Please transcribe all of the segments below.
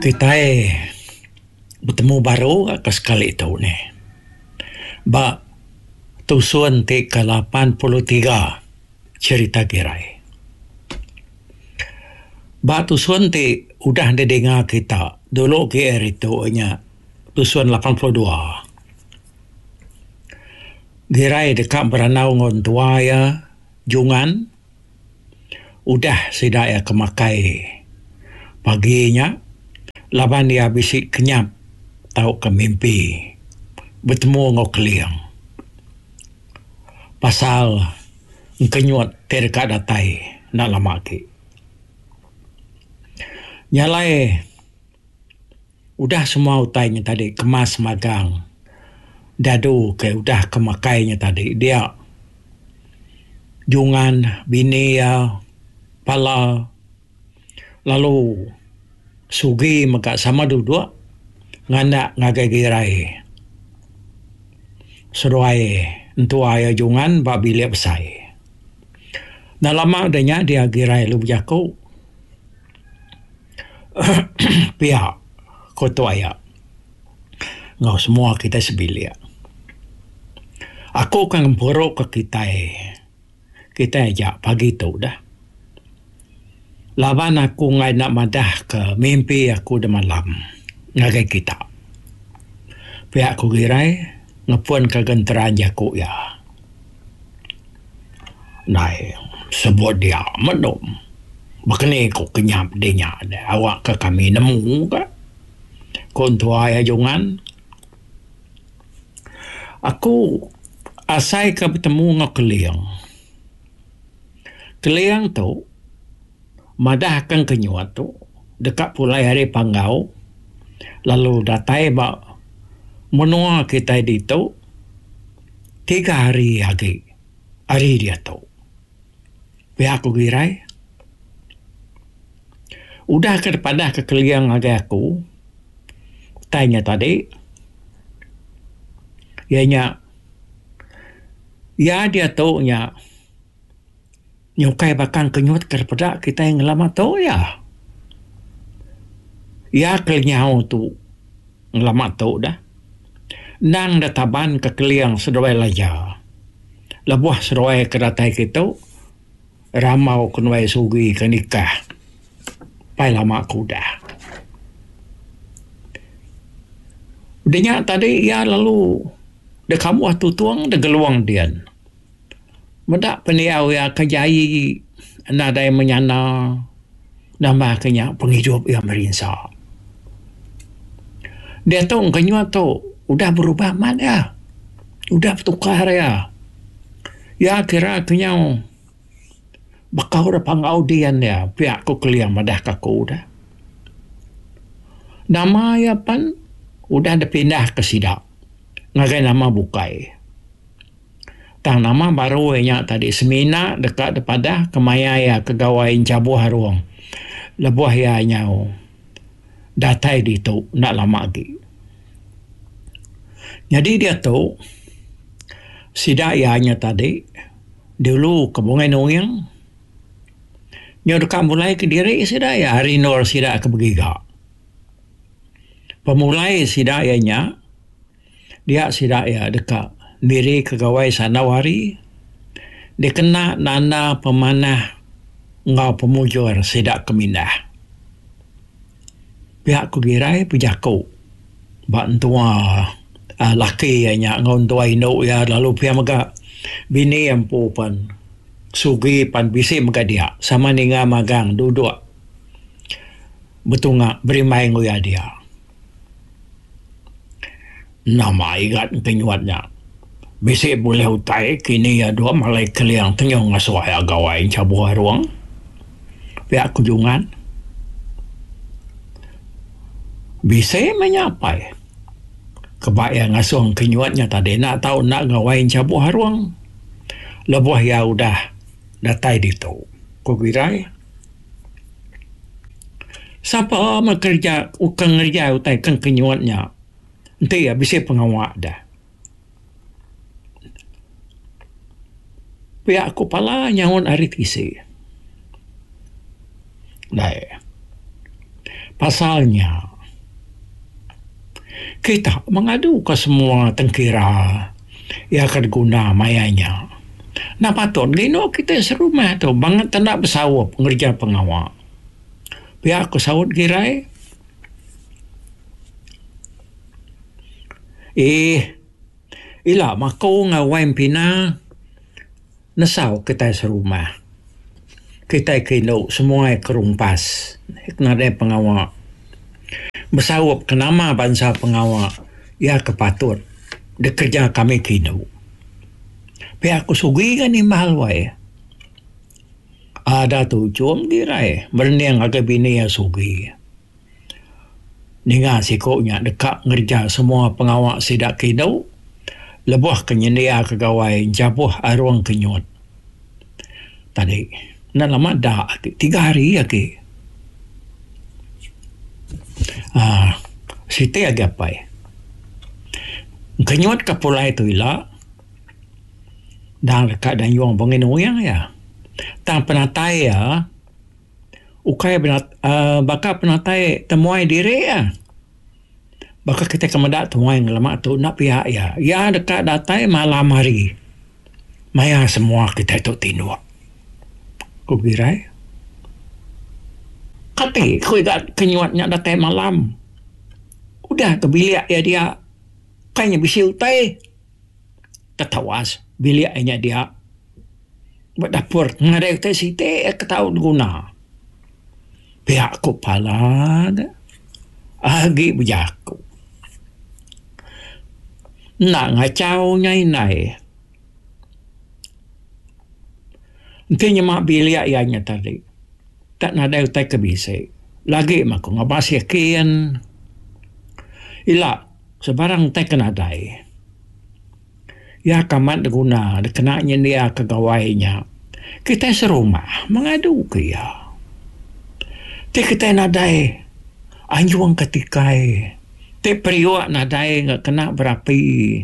Kitai betemu baru ga ke sekali tu nih. Ba tusun ti ke 83 cherita Girai. Ba tusun ti udah didinga kita dulu agi ari tu nya tusun 82. Girai deka berandau enggau entua iya Jungan. Udah sida iya ke makai pagi nya laban iya bisi kenyap tauka mimpi betemu enggau Keling pasal engkenyut ti deka datai enda lama agi. Nya alai udah semua utai nya tadi kemas magang dadu ke udah ke makai nya tadi dia. Jungan bini iya pala lalu Sugi mega sama duduk nganak ngagai Girai seduai entua iya Jungan ba bilik besai. Enda lama udah nya dia Girai lalu bejaku pia ku tua iya enggau semua kitai sebilik. Aku ka ngempuru ka kitai, kitai aja pagi tu dah. Laban aku enggai enda madah ka mimpi aku demalam ngagai kita. Pia ku Girai ngepun ka genteran jaku iya. Ndai sebut dia mendum. Baka ni ku kenyap dinya deh awak ka kami nemu ka. Ku entua iya Jungan. Aku asai ka betemu enggau Keling. Keling tu madah akan kenyut tu deka pulai ari Panggau lalu datai ba menua kitai ditu tiga hari agi ari diatu. Pia ku Girai. Udah ke dipadah ke Keling ngagai aku utai nya tadi iya nya iya diatu nya nyukai bakang kenyut ke peda kitai ngelama tu iya. Iya ke lenyau tu ngelama tu dah endang da taban ke Keling seduai Laja lebuh seduai ke datai kitu. Rambau ke nuai sugi ke nikah pai lama ke udah. Udah nya tadi iya lalu deka mbuh tutung da gelung din. Meda pendiau iya ke jai nadai menyana nambah ke nya pengidup iya merinsa. Diatu engka nyuah tu udah berubah amat iya. Udah betukar iya. Iya kira ke nyau baka orang panggau din dia pia ku Keling madah ka aku dah. Nama iya pan udah dipindah ke sida ngagai nama bukai. Tang nama baru iya nya tadi semina deka dipadah ke maya iya ke gawai enchabuh arung lebuh iya nyau datai ditu enda lama agi. Nyadi diatu sida iya nya tadi dulu ke Bungai Nuing nyau deka mulai kediri sida iya ari endur sida ke begiga. Pemulai sida iya nya dia sida iya deka niri ke gawai sandau hari dikena nanda pemanah enggau pemujur sida ke mindah. Pia ku Girai bejaku ba entua uhh laki iya nya enggau entua indu iya lalu pia mega bini iya empu pen sugi pan bisi mega dia sama ninga magang duduk betunga berimbai enggau iya dia. Nama igat enti nyuat nya bisi bulih utai kini iya dua malai keling tenyung ngasuh iya gawai enchabuh arung pia ku Jungan. Bisi meh nya apai keba iya ngasuh ke nyuat nya tadi enda tau enda gawai enchabuh arung lebuh iya udah datai ditu, ku Girai. Sapa meh kereja ke ngereja utai ke kenyut nya enti iya bisi pengawa deh. Pia ku pala nyaut ari tisi. Dai pasal nya. Kita mengaduka semua tengkira iya ke diguna maya nya. Enda patut ngindu kitai serumah tu bangat enda besaup ngereja pengawa. Pia ku saut Girai. Eeh ila maku enggau wai Empina nesau kitai serumah. Kitai ke indu semua ke rumpas nadai pengawa besaup ke nama bansa pengawa iya ke patut dikereja kami ke indu. Pia ku Sugi ga nimbal wai. Ada tujung girai merening ngagai bini iya Sugi. Ninga siku nya deka ngereja semua pengawa sida ke indu lebuh ke nyendiaka gawai enchabuh arung ke nyut. Tadi enda lama da agi tiga hari agi. Aaa siti agi apai. Kenyut ke pulai tu ila dang deka dayung bengin uing iya. Tang penatai iya ukai aaa baka penatai temuai diri iya. Baka kitai ke meda temuai ngelama tu enda pia iya. Iya deka datai malam hari maya semua kitai tu tinduk, ku Girai. Kati ku iga kenyut nya datai malam. Udah ke bilik iya dia kai nya bisi utai. Ketawas bilik iya nya dia. Ba dapur nadai utai siti ke tau diguna. Pia ku pala ne agi bejaku. Enda ngachau nya indai. Enti nyema bilik iya nya tadi tak nadai utai ke bisi lagi mah ku ngabas yakin. Ila sebarang utai ke nadai. Iya ke amat diguna dikena nyendiaka gawai nya. Kitai serumah mengaduka iya. Ti kitai nadai anjung ke tikai, ti periuk nadai ga kena berapi,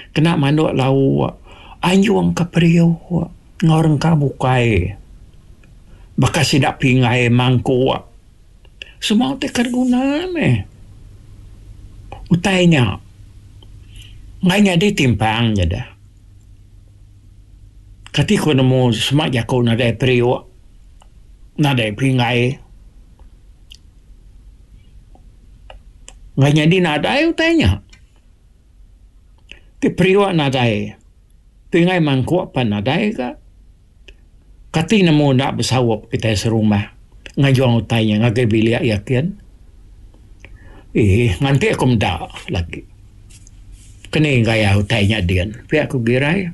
kena manduk lauk, anjung ke periuk enggau rengka bukai baka sida pinggai mangkuk. Semua utai ke diguna meh. Utai nya enggai nyadi timpang nya deh. Kati ku nemu sema jaku nadai periuk, nadai pinggai. Enggai nyadi nadai utai nya. Ti periuk nadai, pinggai mangkuk pan nadai ga. Kati nemu enda besaup kitai serumah ngajung utai nya ngagai bilik iya kin. Eeh nganti aku meda lagi. Keni gaya utai nya din pia ku Girai.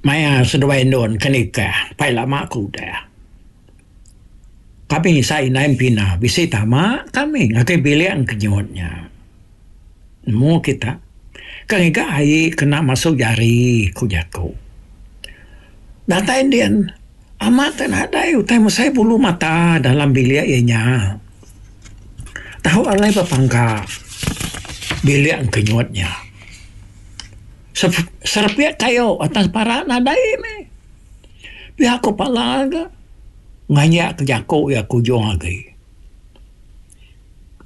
Maya seduai endun ke nikah pai lama ke udah. Kami sai indai Empina bisi tama kami ngagai bilik engkenyut nya. Nemu kita. Ka ngiga ai kena masu jari, ku jaku. Datai endin, amat te nadai utai mesai bulu mata dalam bilik iya nya. Tau alai bepangka bilik engkenyut nya. Serepik kayu atas para nadai meh. Pia ku pala ga nganjak ke jaku iya ke ujung agi.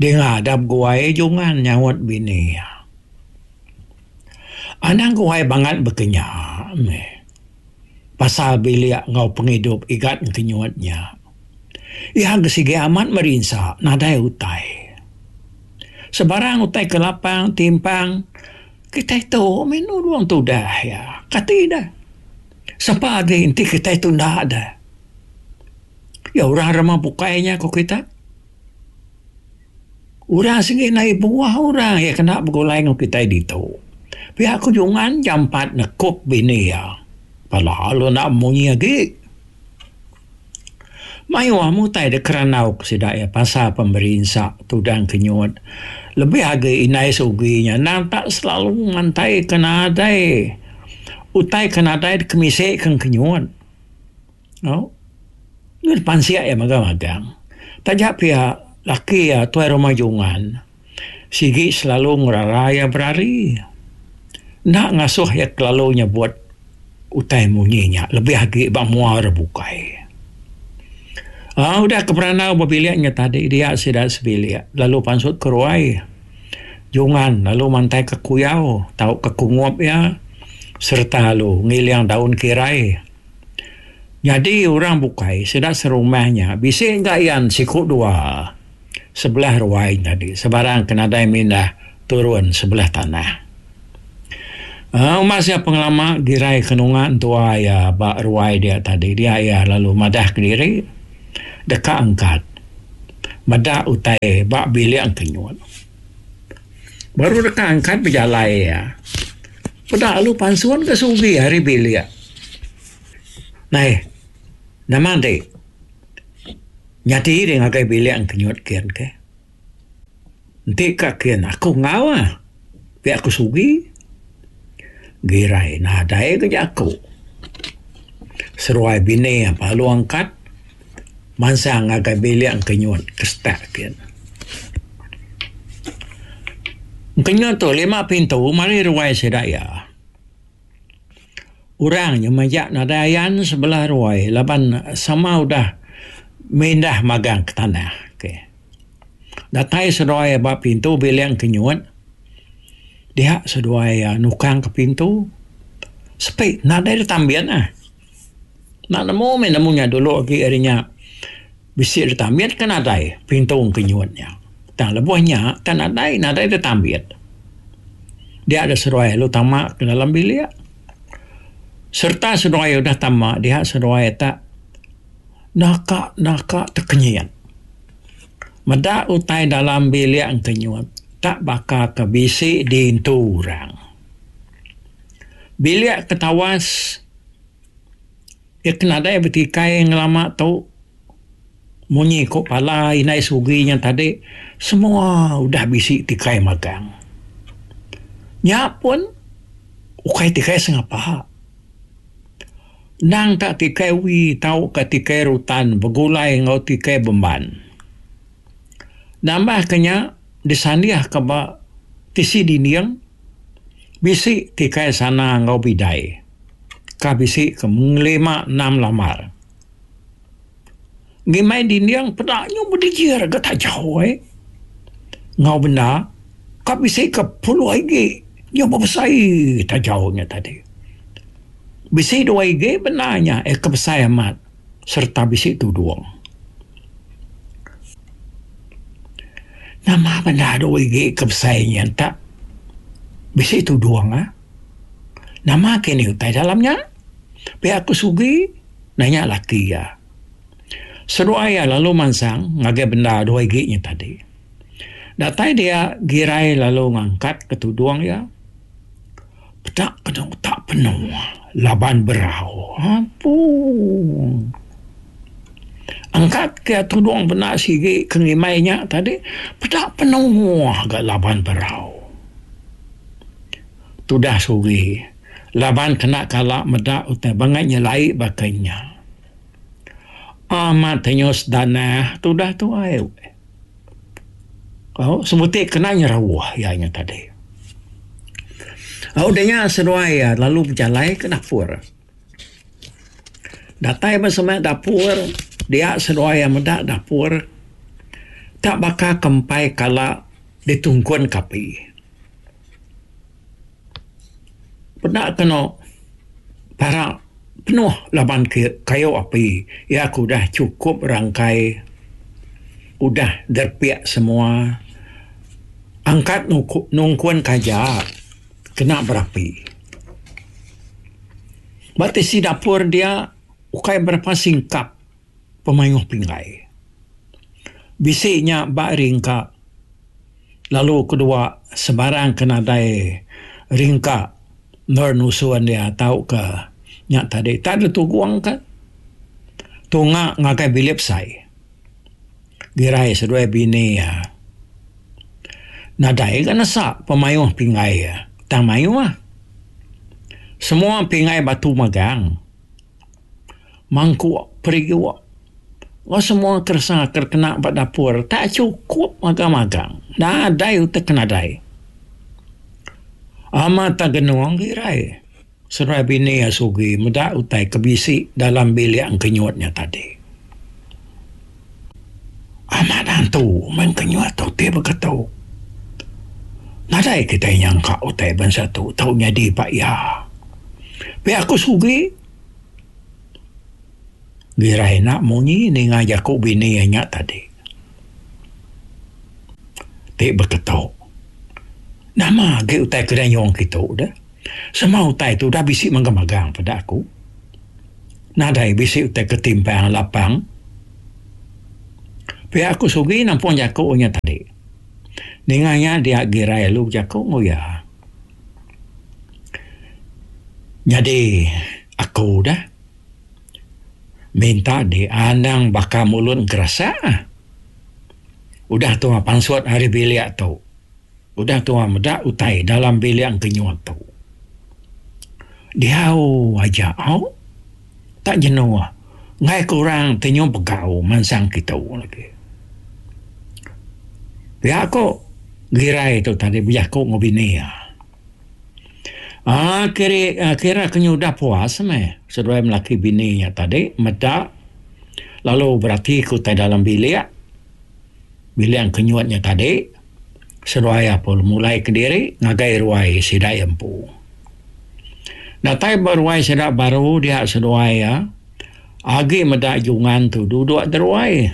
Dinga dap guai jungan nyaut bini iya. Anang guai bangat bekenya meh pasal bilik enggau pengidup igat ngekenyut nya. Iya ke sigi amat merinsa nadai utai. Sebarang utai ke lapang timpang kitai tu meh nulung tudah iya. Kati deh. Sapa agi enti kitai tunda deh. Ya orang rema bukai nya ku kita. Orang sigi ndai buah orang iya kena begulai enggau kitai ditu. Pia ku Jungan jampat nekup bini iya. Pala lalu enda munyi agi. Mayuh meh utai dek kerandau ke sida iya pasal pemerinsa tudang kenyut. Lebih agi indai Sugi nya endang tak selalu mantai ke nadai utai ke nadai dikemisi ke kenyut. Au. Ngan pansik iya mega magang. Taja pia laki iya Tuai Rumah Jungan sigi selalu ngerara iya berari. Enda ngasuh iya kelalu nyebut utai munyi nya lebih agi ba mua orang bukai. Aaa udah ke berandau ba bilik nya tadi dia sida sebilik lalu pansut ke ruai. Jungan lalu mantaika kuyau tauka kungup iya sereta lalu ngiling daun kirai. Nyadi orang bukai sida serumah nya bisi ga ian siku dua sebelah ruai tadi sebarang ke nadai mindah turun sebelah tanah. Umbas iya pengelama girai ke nunga entua iya ba ruai dia tadi dia iya lalu madah kediri deka angkat meda utai ba bilik engkenyut. Baru deka angkat bejalai iya peda lalu pansun ke sugi ari bilik. Nai nama enti nyadi deh ngagai bilik engkenyut kin keh. Enti ka kin aku enggau ah pia ku Sugi. Girai nadai ga jaku. Seruai bini lalu angkat mansang ngagai bilik engkenyut ke setak kin. Engkenyut tu lima pintu mari ruai sida iya. Orang nya majak nadai ayan sebelah ruai laban sama udah mindah magang ke tanah. Okay. Datai seduai ba pintu bilik engkenyut, dia seduai iya nukang ke pintu. Sepi nadai ditambit ah. Enda nemu meh nemu nya dulu agi ari nya bisi ditambit ke nadai pintu engkenyut nya. Tang lebuh nya tang nadai nadai ditambit. Dia da seduai lalu tama ke dalam bilik. Sereta seduai udah tama dia seduai tak naka naka tekenyit. Meda utai dalam bilik engkenyut tak baka ke bisi diintu orang. Bilik ke tawas iya ke nadai betikai ngelama tu. Munyi ku pala indai sugi nya tadi semua udah bisi tikai magang. Nya pun ukai tikai sengapa. Endang ka tikai wi tauka tikai rutan begulai enggau tikai bemban. Nambah ke nya disandih ke ba tisi dinding bisi tikai sana enggau bidai ka bisi ke mengelima enam lambar. Ngimbai dinding peda nyu bedijir ga tajau ai. Enggau benda ka bisi ke puluh igi nyu bebesai tajau nya tadi. Bisi dua igi benda nya eh ke besai amat sereta bisi tudung. Nama benda dua igi ke besai nya enta bisi tudung ah. Nama kini utai dalam nya? Pia ku Sugi nanya laki iya. Seduai iya lalu mansang ngagai benda dua igi nya tadi. Datai dia Girai lalu ngangkat ke tudung iya. Peda kenu tak penuh laban berau. Ampun. Angkat ke tudung benda sigi ke ngimbai nya tadi peda penuh ga laban berau. Tudah Sugi laban kena kala meda utai bangat nyelai baka nya. Amat tenyus danah tudah tuai. Au sebuti kena nyerauh iya nya tadi. Au udah nya seduai iya lalu bejalai ke dapur. Datai ba semak dapur dia seduai iya meda dapur tak baka ke empai kala ditungkun ke api. Peda kenu para penuh laban ke kayu api iya ke udah chukup rangkai udah derepik semua angkat nungkun kaja kena berapi. Ba tisi dapur dia ukai berapa singkap pemayuh pinggai. Bisi nya ba ringka lalu kedua sebarang ke nadai ringka endur nusun iya tauka nya tadi tak ditugungka tunga ngagai bilik besai. Girai seduai bini iya nadai ga nesa pemayuh pinggai iya tang mayuh. Semua pinggai batu magang. Mangkuk, periuk enggau semua keresa ke kena ba dapur tak chukup magang-magang. Nadai utai ke nadai. Amat tak genung girai seduai bini iya sugi meda utai ke bisi dalam bilik engkenyut nya tadi. Amat antu meh engkenyut tu ti beketu. Nadai kitai nyangka utai bansa tu tau nyadi ba iya. Pia ku Sugi. Girai enda munyi ninga jaku bini iya nya tadi. Ti beketu. Nama agi utai ke danyung kitu deh. Semua utai tu udah bisi magang-magang peda aku. Nadai bisi utai ke timpang lapang. Pia ku Sugi nampung jaku nya tadi. Ninga nya dia Girai lalu bejaku enggau iya. Nyadi aku deh. Minta di anang baka mulut engkerasa. Udah tua pansut ari bilik tu. Udah tua meda utai dalam bilik engkenyut tu. Diau aja au. Tak jenuh enggai ke orang ti nyau begau mansang kitu lagi. Pia ko Girai tu tadi bejaku enggau bini iya. Aaa kiri kira ke nyudah puas meh seduai melaki bini nya tadi meda lalu berati ke utai dalam bilik, bilik kenyut nya tadi seduai apu mulai kediri ngagai ruai sida iya empu. Datai ba ruai sida baru dia seduai iya agi meda jungan tu duduk deruai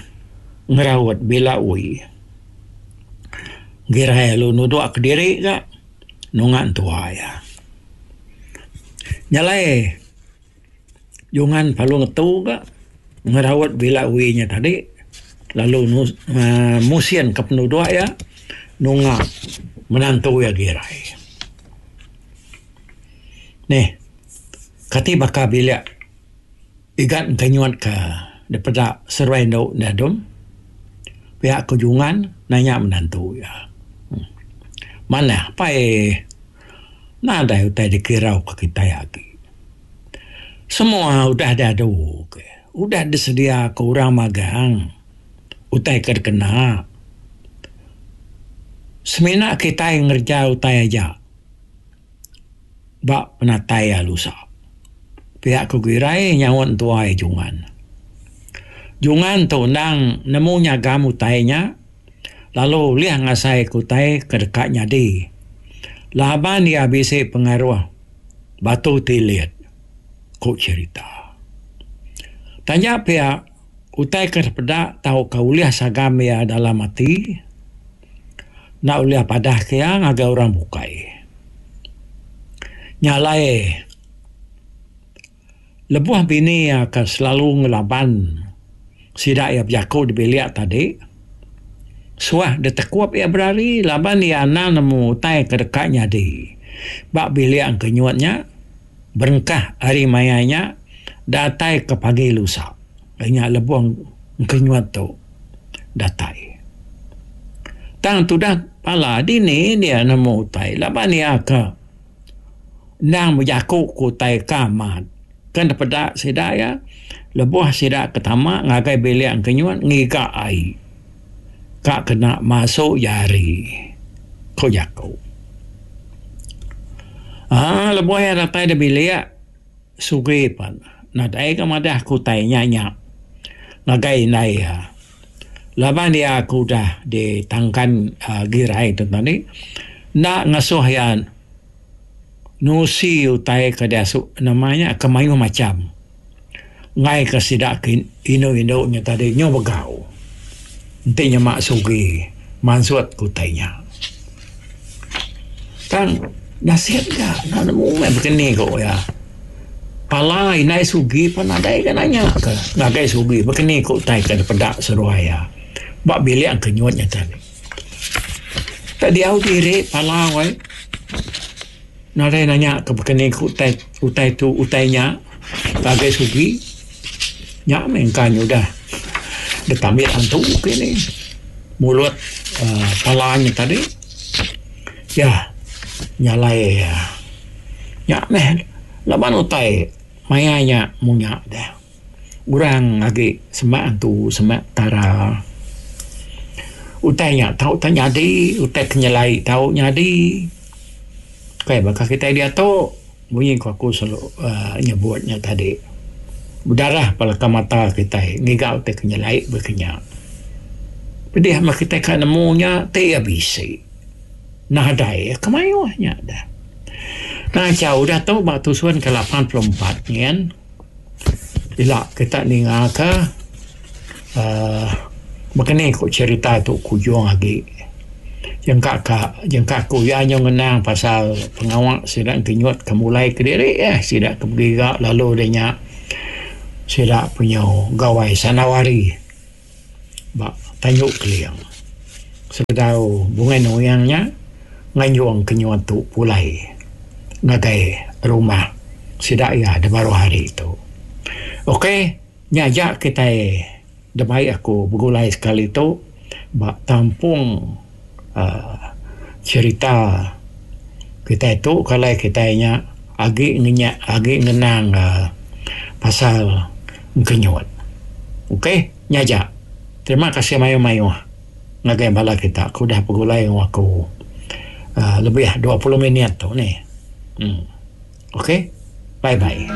ngeraut bila ui. Girai lalu nuduk kediri ga. Nunga entua iya. Nya alai jungan perlu ngetu ga ngeraut bila wi nya tadi lalu uhh musin ka penuduk iya nunga menantu iya girai. Neh kati baka bilik igat engka nyuat ka dipeda seruai endu enda dum pia ku jungan nanya menantu iya. Manah pai nadai utai dikirau ka kitai agi. Semua udah diadu ke udah disedia ka orang magang utai ke dikena. Semina kitai ngereja utai aja. Ba penatai iya lusa. Pia ku Girai nyaut entuai Jungan. Jungan tu endang nemu nyagam utai nya lalu ulih ngasai ke utai ke deka nyadi laban iya bisi pengaruh batu tilit, ku cherita. Taja pia utai ke dipeda tauka ulih sagam iya dalam ati. Enda ulih padah ke iya ngagai orang bukai. Nya alai lebuh bini iya ke selalu ngelaban sida iya bejaku di bilik tadi suah ditekup iya berari laban iya anang nemu utai ke deka nyadi ba bilik engkenyut nya berengkah ari maya nya datai ke pagi lusa. Nya lebuh engkenyut tu datai. Tang tudah pala dini dia nemu utai laban iya ke endang bejaku ke utai ke amat. Kan dipeda sida iya lebuh sida ke tama ngagai bilik engkenyut ngiga ai ka kena masu jari, ku jaku. Aaa lebuh iya datai da bilik. Sugi pan nadai ga madah ke utai nya nya ngagai indai iya. Laban iya ke udah ditangkan uhh girai tu tadi enda ngasuh iya nusi utai ke diasu nama nya ke mayuh macham enggai ke sida ke indu indu nya tadi nyau begau enti nyema Sugi mansut ke utai nya. Tang nasit ga enda nemu meh bekeni ku iya. Pala indai sugi pun nadai ga nanya ke ngagai sugi bekeni ku utai ke dipeda seduai iya ba bilik ke nyut nya tadi. Tak diau diri pala weh nadai nanya ke bekeni ku utai utai tu utai nya ngagai sugi nya meh engka nyudah ditambit antu kini mulut uhh pala nya tadi. Ya nyalai nya meh laban utai maya nya munya deh. Orang agi semak antu semak petara. Utai nya tau te nyadi utai ke nyelai tau nyadi. Kai baka kitai diatu munyi ku aku selalu uhh nyebut nya tadi bedarah paleka mata kitai ngiga utai ke nyelai baka nya. Pedih meh kitai ka nemu nya ti iya bisi. Nadai ke mayuh nya deh. Ngachau udah tu ba tusun ke 84 nyin ila kita ninga ka uhh baka ni ku cherita tu kujung agi. Jengka ka jengka ku iya nyau ngenang pasal pengawa sida ngenyut ke mulai kediri eh sida ke begiga lalu udah nya sida penyu gawai Sanawari. Ba tanju Keling. Sebedau Bungai Nuing nya nganjung kenyut tu pulai ngagai rumah sida iya da baruh hari tu. Ok nya aja kitai da bai aku begulai sekali tu ba tampung uhh cherita kitai tu kalai kitai nya agi ngenyek agi ngenang uhh pasal engkenyut. Ok nya aja. Terima kasih mayuh-mayuh ngagai bala kita ke udah begulai enggau aku uhh lebih 20 minit tu nih. Uhh ok bye bye.